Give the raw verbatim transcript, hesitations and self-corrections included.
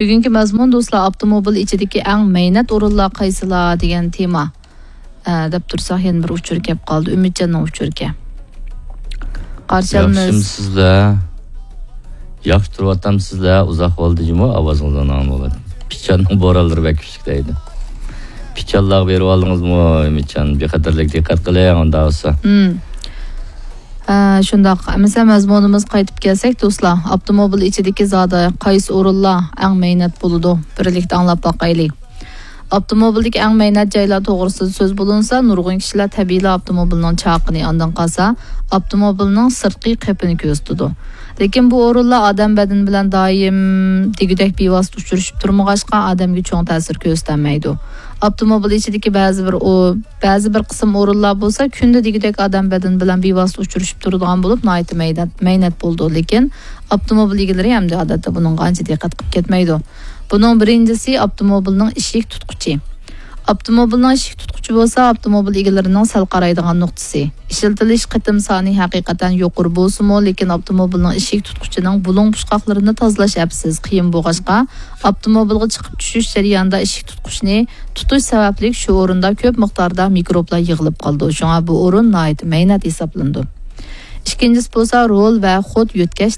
بۈگۈنكى مەزمۇن، دوستلار، ئاپتوموبىل ئىچىدىكى ئەڭ مەينەت ئورۇنلار قايسىلار دېگەن تېما. ئە، دەپ تۇرساق، يەنە بىر ئۇچۇر كەپ قالدى. ئۈمىدجاننىڭ ئۇچۇرىكەن. قارشى ئالىمىز. ياخشىمۇسىزلەر؟ ياخشى تۇرۇۋاتامسىزلەر؟ ئۇزاق بولدى جۇمۇ، ئاۋازىڭىز ئاڭلىنىپ. پىچاننىڭ بورانلىرى بەك كۈچلۈك دەيدۇ. پىچانلارغا بېرىپ ئالدىڭىزمۇ، ئۈمىدجان؟ بىخەتەرلىك دىققەت قىلىڭ، ئۇنداق بولسا. ھە، شۇنداق. ئەمىسە مەزمۇنىمىزغا قايتىپ كەلسەك، دوستلار، ئاپتوموبىل ئىچىدىكى زادى قايسى ئورۇنلار ئەڭ مەينەت بولىدۇ؟ بىرلىكتە ئاڭلاپ باقايلى. ئاپتوموبىلدىكى ئەڭ مەينەت جايلار توغرىسىدا سۆز بولۇنسا، نۇرغۇن كىشىلەر تەبىئىيلا ئاپتوموبىلنىڭ چاقىنى، ئاندىن قالسا ئاپتوموبىلنىڭ سىرتقى قېپىنى كۆرسىتىدۇ. لېكىن بۇ ئورۇنلار ئادەم بەدىنى بىلەن دائىم دېگۈدەك بىۋاسىتە ئۇچرىشىپ تۇرمىغاچقا، ئادەمگە چوڭ تەسىر كۆرسىتەلمەيدۇ. ئاپتوموبىل ئىچىدىكى بەزى بىر ئو-، بەزى بىر قىسىم ئورۇنلار بولسا كۈندە دېگۈدەك ئادەم بەدىنى بىلەن بىۋاسىتە ئۇچرىشىپ تۇرىدىغان بولۇپ، ناھايىتى مەينەت، مەينەت بولىدۇ. لېكىن ئاپتوموبىل ئىگىلىرى ئەمدى ئادەتتە بۇنىڭغا ئانچە دىققەت قىلىپ كەتمەيدۇ. بۇنىڭ بىرىنچىسى ئاپتوموبىلنىڭ ئىشىك تۇتقۇچى. ئاپتوموبىلنىڭ ئىشىك تۇتقۇچى بولسا ئاپتوموبىل ئىگىلىرىنىڭ سەل قارايدىغان نۇقتىسى. ئىشلىتىلىش قېتىم سانى ھەقىقەتەن يۇقىرى بولسىمۇ، لېكىن ئاپتوموبىلنىڭ ئىشىك تۇتقۇچىنىڭ بۇلۇڭ-پۇچقاقلىرىنى تازىلاش ئەپسىز قىيىن بولغاچقا، ئاپتوموبىلغا چىقىپ چۈشۈش جەريانىدا ئىشىك تۇتقۇچنى تۇتۇش سەۋەبلىك شۇ ئورۇندا كۆپ مىقداردا مىكروبلار يىغىلىپ قالىدۇ. شۇڭا بۇ ئورۇن ناھايىتى مەينەت ھېسابلىنىدۇ. ئىككىنچىسى بولسا رول ۋە خود يۆتكەش